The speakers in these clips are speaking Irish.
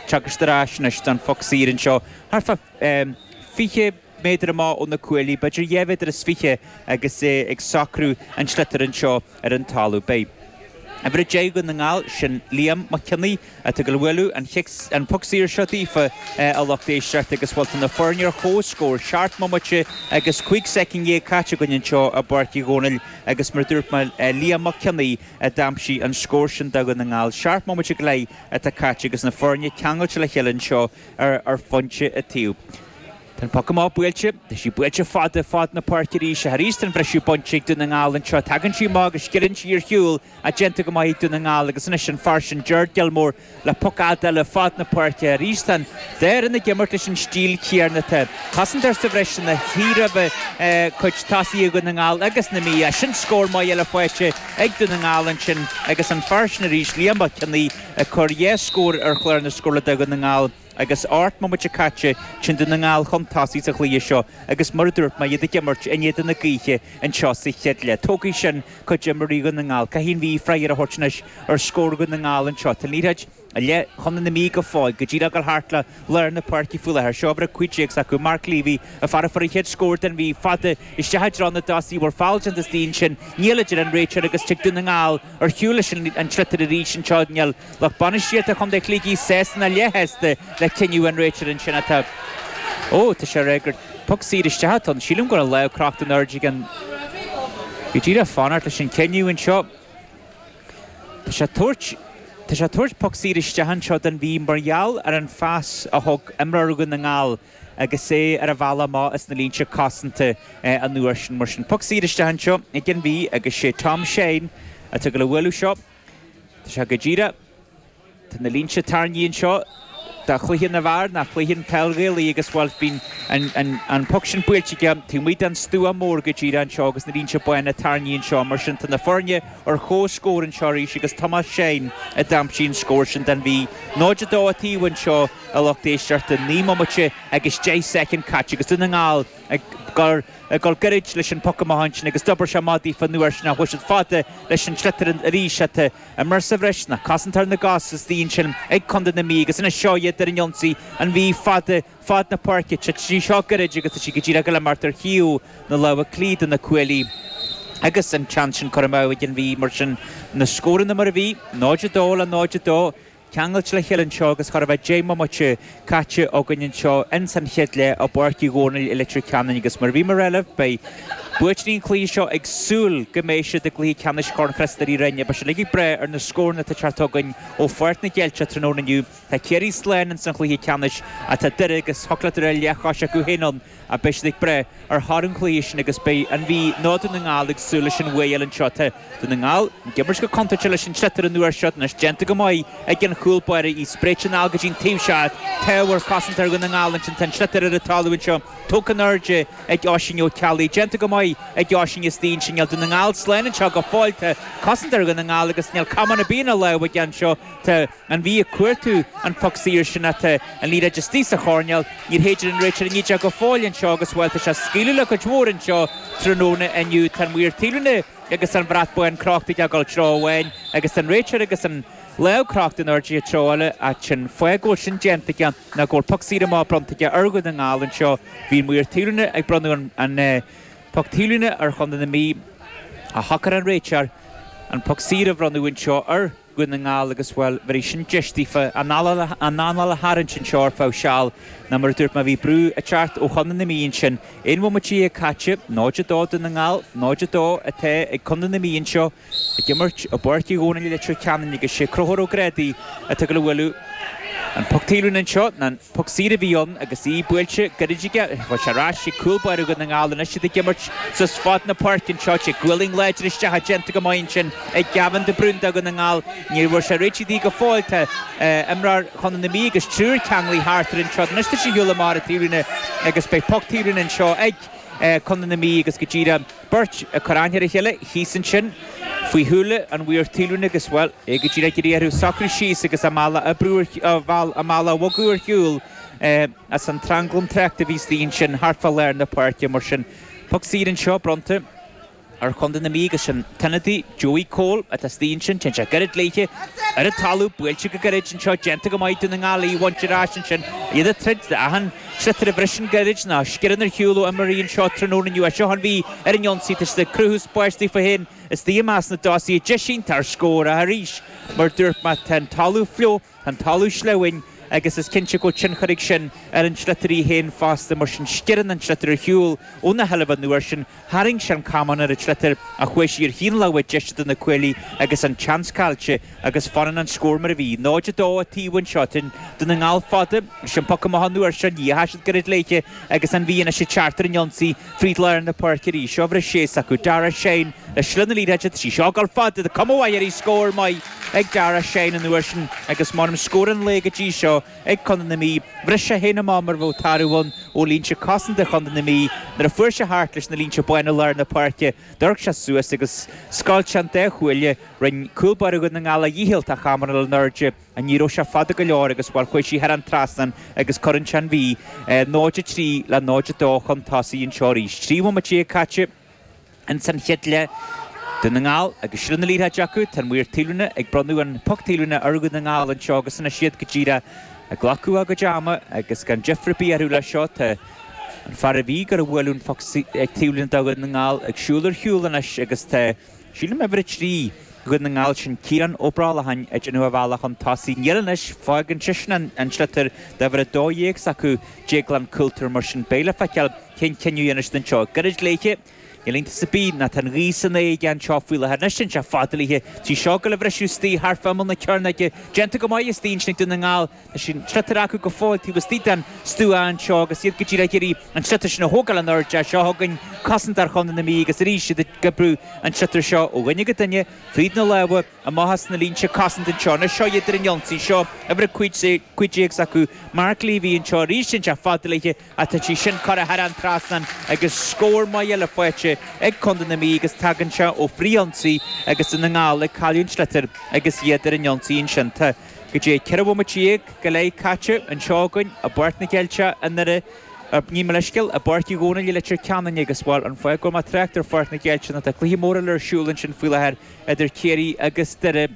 Tiocfaidh siad ar ais anois don phoc saor anseo thart fá 20 méadar amach ó na cuaillí, b'fhéidir 2 mhéadar is 20 agus é ag socrú an tsliotair anseo ar an talamh. Beidh uimhir 10 Dhún na nGall, sin Liam Mac Cionnaith, atá ag gabháil a bhualadh an chic, an poc saor seo daofa, a lucht éisteachta agus bhuel tá na foirne ar comhscór, 7 mbomaite agus 15 soicind caite againn anseo i bPáirc Uí Dhónaill agus mar a dúirt mé, Liam Mac Cionnaith a d'aimsigh an scór sin do Dhún na nGall. 7 mbomaite go leith atá caite agus na foirne ceangailte le chéile anseo ar phointe an taobh. Tá an poc amach buailte. Tá sí buailte fada, fad na páirce arís. Ach arís tá an briseadh bainte ag Dún na nGall anseo. Tagann sí amach agus sciorrann sí ar shiúl ach déanta go maith ag Dún na nGall agus anois an fear sin Gerard Gilmore le poc fhada eile fad na páirce. Arís tá an dá fhoireann ag imirt leis an stíl chéanna. Tá cosantóir sa bhreis ina shuí roimhe cuid tosaithe Dhún na nGall agus na Mí. Sin scór maith eile faighte ag Dún na nGall ansin agus an fear sin arís Liam Mac Cionnaith ag cur dhá scór ar chlár na scórála do Dhún na nGall. Agus 18 mbomaite caite, sin Dún na nGall chun tosaigh sa chluiche seo agus mar a dúirt mé, iad ag imirt in éadan na gaoithe anseo sa chéad leath. Tógfaidh sin cuid d'imreoirí Dhún na nGall. Caithfidh an Mhí freagra a thabhairt anois ar scór Dhún na nGall anseo. Tá an liathróid i leith Chontae na Mí go fóill, go díreach ag dul thart le lár na páirce faoi láthair. Seo uimhir 15 s'acu, Mark Leavy, an fear a fuair an chéad scór don Mhí, fada isteach i dtreo na dtosaithe. Bhfuil feall déanta istigh ansin? Níl, a deir an réiteoir agus tig Dún na nGall ar shiúl leis an tsliotar arís anseo. Níl. Lucht bainistíochta Chontae Shligigh sásta ná leathshásta le cinneadh an réiteora ansin atá. Ó, tá sé ag rá gur poc saor isteach atá ann. Sílim go raibh lámh crochta in airde ag an. Go díreach fanacht leis an cinneadh anseo. Tá sé ag tabhairt. Tá sé ag tabhairt poc saor isteach anseo don Mhí mar gheall ar an phas a thug imreoir Dhún na nGall agus é ar a bhealach amach as na línte cosanta an uair sin. Mar sin, poc saor isteach anseo ag an Mhí agus sé Tom Shane atá ag dul a bhualadh seo. Tá sé go díreach. Tá na línte tarraingthe anseo do chluiche na bhfear, ná cluiche an peil Ghaelaí agus, bhuel, bíonn an poc sin buailte aige taobh amuigh den stua mór go díreach anseo agus na línte bána tarraingthe anseo. Mar sin, tá na foirne ar comhscór anseo arís agus Tomás Shane a d'aimsigh an scór sin don Mhí. 0-2 an taobh anseo, a lucht éisteachta, 9 mbomaite agus 10 soicind caite agus Dún na nGall ag dul ag dul gairid leis an poc amach ansin agus d'obair sé maith daofa an uair sin ach chuaigh siad fada leis an sliotar arís ach imreoir sa bhreis ná cosantóir na gcos istigh ansin ag Contae na Mí agus anois seo iad ar an ionsaí, an Mhí fada fad na páirce. Titeann sí seo gairid agus tá sí go díreach ag dul imeacht ar thaobh na láimhe clí de na cuaillí agus an seans sin curtha amú ag an Mhí mar sin na scóranna mar a bhí, 0-2 le 0-2. Ceangailte le chéile anseo agus chóir a bheith 10 mbomaite caite againn anseo ins an chéad leath i bPáirc Uí Dhónaill i Leitir Ceanainn agus mar a bhí mé ag rá libh, beidh buaiteoirí an chluiche seo ag súil go mbeidh siad i gcluiche ceannais Chorn Chriostóir Uí Rinn. Beidh siad uilig ag brath ar na scóranna atá ag teacht chugainn ó Pháirc na gCeilteach tráthnóna inniu. Tá Ciarraí slán ins an chluiche ceannais ach tá Doire agus thiocfadh le Doire leathchos acu féin ann. Ach beidh siad ag brath ar thoradh an chluiche sin agus beidh an Mhí nó Dún na nGall ag súil leis an bhuaidh eile anseo. Tá Dún na nGall ag imirt go contúirteach leis an tsliotar an uair seo anois. Déanta go maith ag an chúl báire í spréite anall go dtí an taobh seo. Tá ar chosantóir Dhún na nGall ansin. Tá an sliotar ar an talamh anseo. Tógtha in airde ag Oisín Ó Ceallaigh. Déanta go maith ag Oisín istigh ansin. Níl Dún na nGall slán anseo go fóill. Tá cosantóir Dhún na nGall agus níl camán ar bith ina lámh aige anseo. Tá. An Mhí ag cuartú an phoc saor sin ach tá an liathróid istigh sa choirnéal. Níor shéid an réiteoir an fhídeog go fóill anseo agus, bhuel, tá sé ag scaoileadh le cuid mhór anseo tráthnóna inniu. Tá an maor taobhlíne agus an brat bán crochta aige ag dul treo amháin agus tá an réiteoir agus an lámh crochta in airde treo eile ach sin fáth go bhfuil sin déanta aige ná go bhfuil poc saor amach bronnta aige ar Dhún na nGall anseo. Bhí an maor taobhlíne ag bronnadh an poc taobhlíne ar Chontae na Mí ach shocair an réiteoir an poc saor a bhronnadh anseo ar Dhún na nGall agus, bhuel, bhéarfaidh sin deis daofa a n-anáil a tharraingt anseo ar feadh seal ná mar a dúirt mé bhí brú ag teacht ó Chontae na Mí ansin. Aon bhomaite caite, 0-2 Dún na nGall, 0-2 atá ag Contae na Mí anseo ag imirt i bPáirc Uí Dhónaill i Leitir Ceanainn agus sé Conchúr Ó Grádaigh atá ag dul a bhualadh an poc taobhlíne anseo ná an Poc saor a bhí ann agus í buailte gairid aige. Chuaigh sé ar ais ag cúl báire Dhún na nGall. Anois iad ag imirt suas fad na páirce anseo. Sé gualainn láidir isteach déanta go maith ansin ag Gavin de Brún do Dhún na nGall. Ní bhfuair sé réitithe di go fóill. Tá imreoir Chontae na Mí agus triúr ceanglaithe thart air anseo. Anois tá sé ar shiúl amach ar an taobhlíne agus beidh poc taobhlíne anseo ag Contae na Mí agus go díreach beirt ag cur aithne ar a chéile thíos ansin faoi shúile an mhaoir taobhlíne agus, bhuel, é go díreach ag iarraidh orthu socrú síos agus a mbealach a brú ar, a mbealach a bhogadh ar shiúl as an tranglam tráchta a bhí istigh ansin thart fá lár na páirce. Mar sin, poc saor anseo bronnta. Ar chontae na Mí agus sin t-ionadaí Joey Cole atá istigh ansin. Téann sé gairid léithe ar an talamh, buailte go gairid anseo, déanta go maith Dún na nGall í a bhaint ar ais ansin. Iad ag troid d'achan sliotar a bhriseann gairid nó a sciorrann ar shiúl ó imreoirí anseo tráthnóna inniu. Seo an Mhí ar an ionsaí, tá siad ag cruthú spáis daofa féin istigh i measc na dtosaithe. Deis iontach ar scór ach arís, mar dúirt mé, tá an talamh fliuch. Tá an talamh sleamhain agus is cinnte go bhfuil tionchar ag sin ar an sliotar í féin fosta, mar sin sciorrann an sliotar ar shiúl óna sheilbh an uair sin. Tharraing sé an camán ar an tsliotar ach chuaigh sí ar thaobh na láimhe deise de na cuaillí agus an tseans caillte agus fanann an scór mar a bhí. 0-2 an taobh anseo. Tá Dún na nGall fada. Sin poc amach an uair seo. Ní dheachaigh siad gairid léithe agus an Mhí anois ag teacht ar an ionsaí fríd lár na páirce arís. Seo uimhir 6 s'acu, Darragh Shine le slí na liathróide. Tá sí seo ag dul fada. Tá cuma mhaith uirthi. Scór maith ag Darragh Shine an uair sin agus m'anam scór an lae go dtí seo ag Contae na Mí. Bhris sé féin amach mar a bheadh tarbh ann ó línte cosanta Chontae na Mí nuair a fuair sé thart leis na línte bána i lár na páirce. D'amharc sé suas agus scoilt sé an dá chuaille. Rinne cúl báire Dhún na nGall a dhícheall tá a chamán in airde. Ní raibh sé fada go leor agus, bhuel, chuaigh sí thar an trasnán agus cuireann sé an Mhí 0-3 le 0-2 chun tosaigh anseo arís. 13 bhomaite caite. Ins an chéad leath, Dún na nGall agus seilbh na liathróide acu, tá an maor taobhlíne ag bronnadh an poc taobhlíne ar Dhún na nGall anseo agus anois iad go díreach ag glacadh a gcuid ama agus gan deifir ar bith orthu leis seo. Tá an fear a bhí ag gabháil a bhualadh an phoc taobhlíne do Dhún na nGall ag siúl ar shiúl anois agus tá, sílim, uimhir 3 Dhún na nGall, sin Ciarán Ó Brollacháin ag déanamh a bhealach chun tosaigh. Níl anois, fágann seisean an sliotar d'uimhir 12 s'acu, Déaglán Coulter, mar sin beidh le feiceáil cén cinneadh a dhéanfaidh siad anseo. Gairid léithe. Níl iontas ar bith ná tá an ghaoth san aige anseo faoi láthair. Anois téann sé fada léithe. Tá sí seo ag gabháil a bhriseadh istigh thart fá imeall na cearnóige. Déanta go maith istigh ansin ag Dún na nGall. Tá an sliotar acu go fóill taobh istigh den stua anseo agus iad go díreach ag iarraidh an sliotar sin a thógáil in airde. Seo chugainn cosantóir Chontae na Mí agus arís iad ag oibriú an tsliotar seo ó dhuine go duine fríd na lámha amach as na línte cosanta anseo. Anois seo iad ar an ionsaí. Seo uimhir 15 s'acu, Mark Leavy anseo arís. Téann sé fada léithe. Ach tá sí sin curtha thar an trasnán agus scór maith eile faighte ag Contae na Mí agus tagann sé ó frith-ionsaí agus Dún na nGall ag cailleadh an tsliotair agus iad ar an ionsaí ansin. Tá go dtí 14 bhomaite go leith caite anseo againn i bPáirc na gCeilteach i nDoire, gabh mo leithscéal, i bPáirc Uí Dhónaill i Leitir Ceanainn agus, bhuel, an fáth go bhfuil mé ag trácht ar Pháirc na gCeilteach ná tá cluiche mór eile ar siúl ansin faoi láthair idir Ciarraí agus Doire.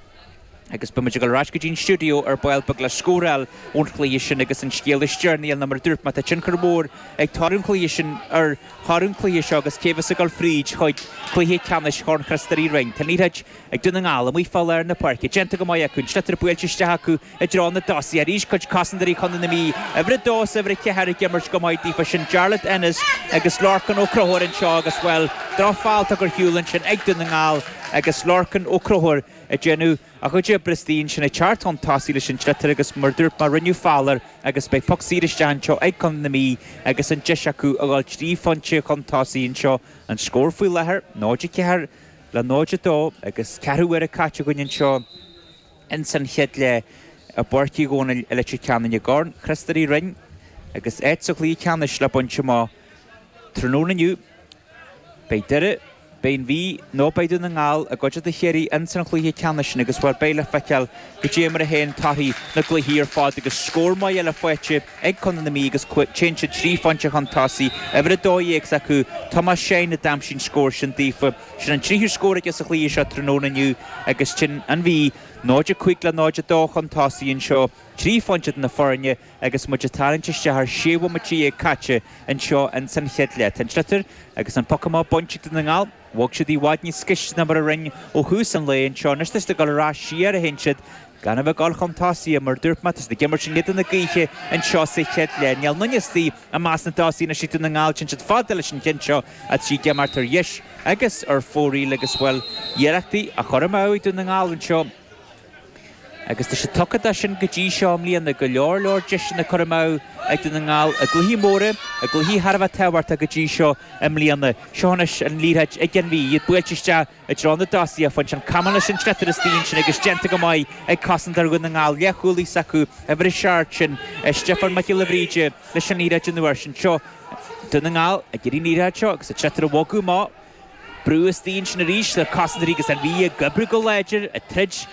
Agus beidh muid ag dul ar ais go dtí an stiúideo ar ball beag le scór a fháil ón chluiche sin agus an scéal is deireanaí ná mar a dúirt mé tá tionchar mór ag toradh an chluiche sin ar thoradh an chluiche seo agus cé bheas ag dul fríd chuig cluiche ceannais Chorn Chríost Rí Roinn. Tá an liathróid ag Dún na nGall amuigh fá lár na páirce. Déanta go maith acu. An sliotar buailte isteach acu i dtreo na dtosaithe. Arís cuid cosantóirí Chontae na Mí, uimhir 2 is uimhir 4 ag imirt go maith daofa. Sin Jarlath Ennis agus Lorcan Ó Conchúir anseo agus, bhuel, drochfheall tugtha ar shiúl ansin ag Dún na nGall agus Lorcan Ó Conchúir ag déanamh a chuid oibre istigh ansin ag teacht chun tosaigh leis an tsliotar agus mar a dúirt mé rinneadh feall air agus beidh poc saor isteach anseo ag Contae na Mí agus an deis acu a dhul trí phointe chun tosaigh anseo. An scór faoi láthair, 0-4 le 0-2 agus ceathrú uaire caite againn anseo ins an chéad leath i bPáirc Uí Dhónaill i Leitir Ceanainn i gCorn Chríost Rí Roinn agus áit sa chluiche ceannais le baint amach tráthnóna inniu. Beidh Doire. Beidh an Mhí nó beidh Dún na nGall i gcuideachta Chiarraí ins an chluiche ceannais sin agus, bhuel, beidh le feiceáil goidé mar a théann torthaí na gcluichí ar fad agus scór maith eile faighte ag Contae na Mí agus téann siad trí phointe chun tosaigh, uimhir 12 s'acu, Tomás Shine a d'aimsigh an scór sin daofa. Sin an tríú scór aige sa chluiche seo tráthnóna inniu agus téann an Mhí 0-5 le 0-2 chun tosaigh anseo, trí phointe idir na foirne. Agus muid ag tarraingt isteach ar 16 bhomaite caite anseo ins an chéad leath. Tá an sliotar agus an poc amach bainte ag Dún na nGall. Bhog siad i bhfad níos gaiste ná mar a rinne ó thús an lae anseo. Anois tá siad ag dul ar ais siar a théann siad gan a bheith ag dul chun tosaigh. Mar a dúirt mé, tá siad ag imirt in éadan na gaoithe anseo sa chéad leath. Níl aon duine istigh i measc na dtosaithe anois ag Dún na nGall. Téann siad fada leis an cheann seo tá sí ag imeacht ar dheis agus ar fóraoil agus, bhuel, iarrachtaí á chur amú ag Dún na nGall anseo. Agus tá siad tugtha dó sin go dtí seo i mbliana, go leor leor deiseanna curtha amú ag Dún na nGall i gcluichí móra, i gcluichí thar a bheith tábhachtach go dtí seo i mbliana. Seo anois an liathróid ag an Mhí, iad buailte isteach i dtreo na dtosaithe. Faigheann an camán leis an sliotar istigh ansin agus déanta go maith ag cosantóir Dhún na nGall. Leathchúlaí s'acu, uimhir a seacht, sin Stiofán Mac Giolla Bhríde leis an liathróid an uair sin. Seo Dún na nGall ag iarraidh an liathróid seo agus an sliotar a bhogadh amach. Brú istigh ansin arís le cosantóirí agus an Mhí ag oibriú go láidir, ag troid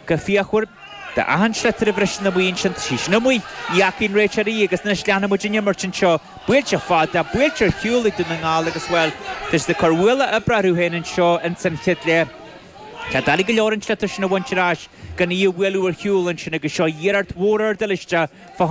go fíochmhar. D'achan sliotar a bhriseann amuigh ansin, tá sí sin amuigh, ní fhacaidh an réiteoir í agus anois leanfaidh muid an imirt anseo. Buailte fada, buailte ar shiúl ag Dún na nGall agus, bhuel, tá siad ag cur ualach oibre orthu féin anseo ins an chéad leath. Tá doiligh go leor an sliotar sin a bhaint ar ais gan í a bhualadh ar shiúl ansin agus seo iarracht mhór ar dul isteach fá.